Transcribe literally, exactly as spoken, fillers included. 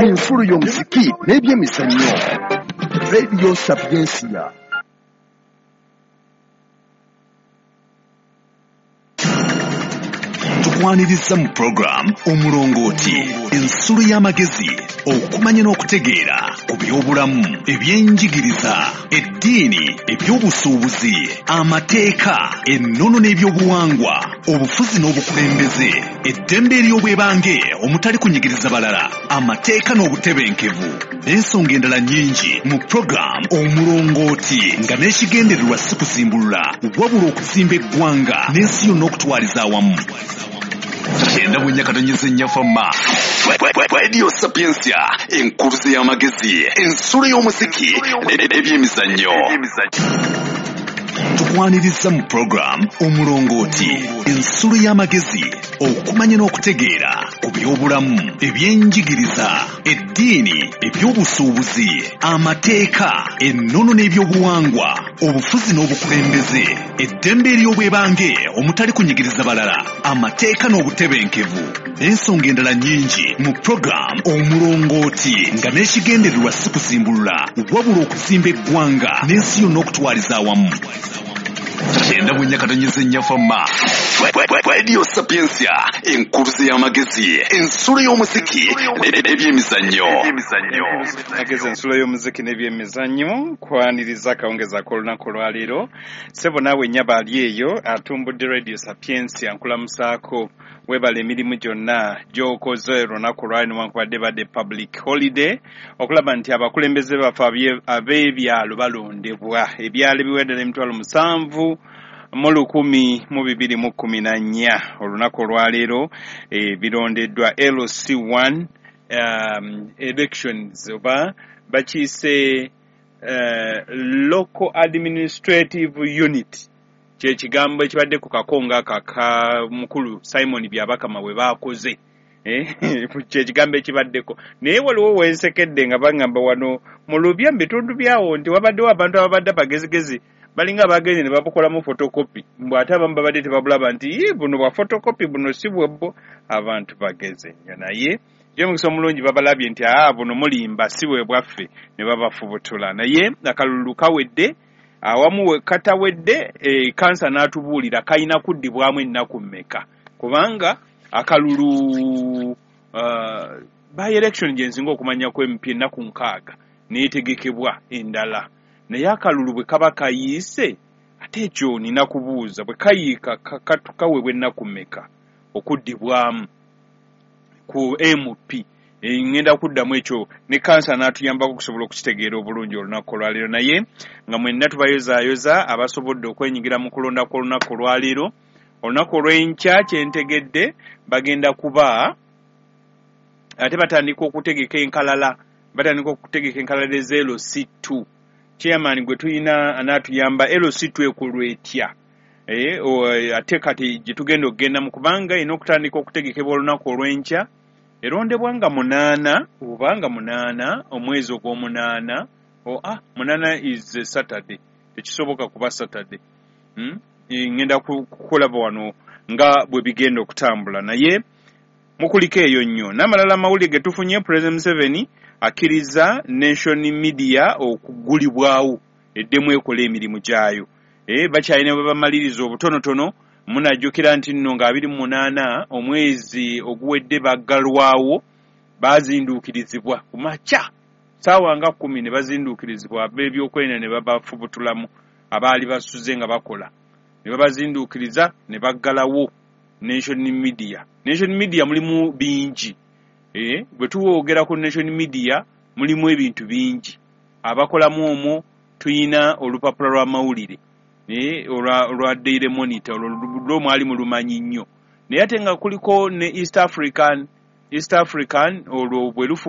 Ensulo y'omuziki n'ebyemizannyo. Radio Sapientia. Tukwaniriza mu program Omulongooti, ensulo y'amagezi, okumanya n'okutegeera ku by'obulamu, ebyenjigiriza, eddiini, ebyobusuubuzi, amateeka, ennono n'ebyobuwangwa, obufuzi n'obukulembeze, eddembe ery'obwebange omutali kunyigiriza balala, amateeka n'obutebenkevu, n'ensonga endala nnyingi mu program Omulongooti, nga n'ekigendererwa si kuzimbulula wabula okuzimba eggwanga n'ensi yonna okutwaliza awamu. Kyenda mu nnya katonnyeze nnya Fama. Radio Sapientia, enkuluze y'amagezi, ensulo y'omuziki n'ebyemizannyo. Tukwaniriza mu program Omulongooti, ensulo y'amagezi, okumanya n'okutegeera ku by'obulamu, ebyenjigiriza, eddiini, ebyobusuubuzi, amateeka, ennono n'ebyobuwangwa, obufuzi n'obukulembeze, eddembe ery'obwebange omutali kunyigiriza balala, amateeka n'obutebenkevu, n'ensonga endala nnyingi mu program Omulongooti, nga n'ekigendererwa si kuzimbulula wabula okuzimba eggwanga n'ensi yonna okutwaliza awamu. Kyenda mu nnya katonnyeze nnya Fama. Radio Sapientia, enkuluze y'amagezi, ensulo y'omuziki n'ebyemizannyo. Agezi ensulo y'omuziki n'ebyemizannyo, kwaniriza akawungeezi ak'olunaku olwaleero. Ssebo naawe nnyabo ali eyo atumbudde Radio Sapientia, nkulamusaako, weebala emirimu gyonna gy'okoze olunaku olwaleero newankubadde badde public holiday, okulaba nti abakulembeze baffe ab'ebyalo balondebwa. Ebyalo ebiwedde emitwalo musanvu mu lukumi mu bibiri mu kkumi na nnya olunaku olwaleero e, birondeddwa L C one um, elections oba bakiyise uh, local administrative unit, kye kigambo ekibadde ku kakonga aka mukulu Simon Byabakama bwe baakoze, eh, kye kigambo ekibaddeko. Naye waliwo wensekedde nga baŋŋamba wano mu Lubya mu bitundu byawo nti wabaddewo abantu ababadde abagezigezi balinga abagenzi ne babukolamu photocopy, mbu ate abamu babadde tebabulaba nti ii buno bwa photocopy buno si bwebbo. Abantu bageze nnyo, naye gy'omukisa omulungi babalabye nti aa buno mulimba si bwe bwaffe, ne babafubutula. Naye akalulu kawedde, awamu katawedde, e, kansa n'atubuulira kalina kuddibwamu ennaku mmeka, kubanga akalulu uh, by election gye nsinga okumanya ku M P ennaku nkaaga neetegekebwa endala. Naye akalulu bwe kaba kayiise, ate ekyo nina kubuuza, bwe kayiika kaweebwa ennaku mmeka okuddibwamu ku M P? Ngenda kuddamu ekyo ne kansa n'atuyambako okusobola okukitegeera obulungi olunaku olwaleero. Naye nga mwenna tubayozaayoza abasobodde okwenyigira mu kulonda kw'olunaku olwaleero. Olunaku olw'enkya kye ntegedde bagenda kuba ate batandika okutegeka enkalala, batandika okutegeka enkalala ez'L C two. Chairman gwe tulina anaatuyamba L C two ekolwa etya? Eh, ate kati gye tugenda okugenda mu kubanga erina okutandika okutegekebwa olunaku olw'enkya, erondebwa nga munaana oba nga munaana omwezi ogw'omunaana. Oh, ah, munaana is a Saturday, tekisoboka kuba Saturday. Hmm? Ngenda kukulaba wano nga bwe bigenda okutambula, naye mukuliko eyo nnyo. N'amalala amawulire ge tufunye, President Museveni akkiriza Nation Media okugulibwawo eddemu ekola emirimu gyayo. Eh, bakyalina bwe bamaliriza obutonotono. Munajjukira nti nno nga abiri mu munaana omwezi oguwedde baggalwawo, bazinduukirizibwa ku makya ssaawa nga kkumi ne bazinduukirizibwa ab'ebyokwerinda ne babafubutulamu abaali basuze nga bakola, ne babazinduukiriza ne baggalawo Nation Media. Nation Media mulimu bingi. Eh, bwe tuwogera ku Nation Media mulimu ebintu bingi. Abakolamu omwo tuyina olupapula lw'amawulire, eh, olwa, olwa Daily Monitor, olwo lwo mwali mulumanyi nnyo. Naye ate nga kuliko ne East African, East African olwo bwe lufu